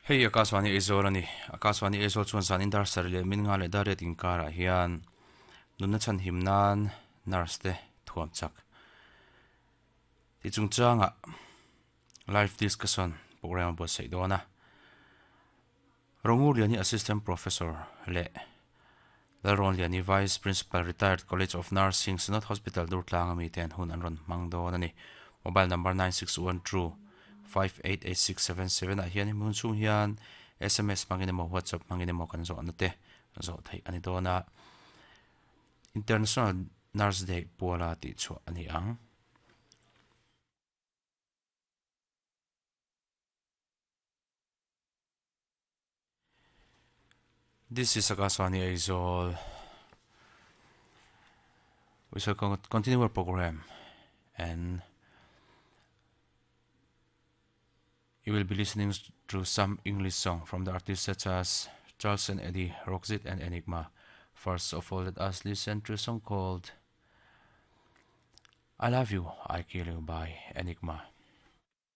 Hei Akashvani Aizawl a ni. Akashvani Aizawl chuan zan in dar sarih leh min nga leh dar riat inkarah hian nunna chhanhim nan nurse te thuam chak tih chungchangah live discussion program a buatsaih dawn a. Rongur Liani Assistant Professor leh Lalrawn Liani Vice Principal Retired College of Nursing Synod Hospital Durtlang ami te an hun an rawn hmang dawn a ni. Mobile number 9612 588677 ah hian hemi hun chhung hian sms hmangin emaw WhatsApp hmangin emaw kan zawhna te zawh theih a ni dawn a. International Nurse Day puala tihchhuah a ni ang. This is Akaswani Aizawl. We shall continue our program and you will be listening to some English song from the artists such as Charles and Eddie, Roxette and Enigma. First of all, let us listen to a song called I Love You, I Kill You by Enigma.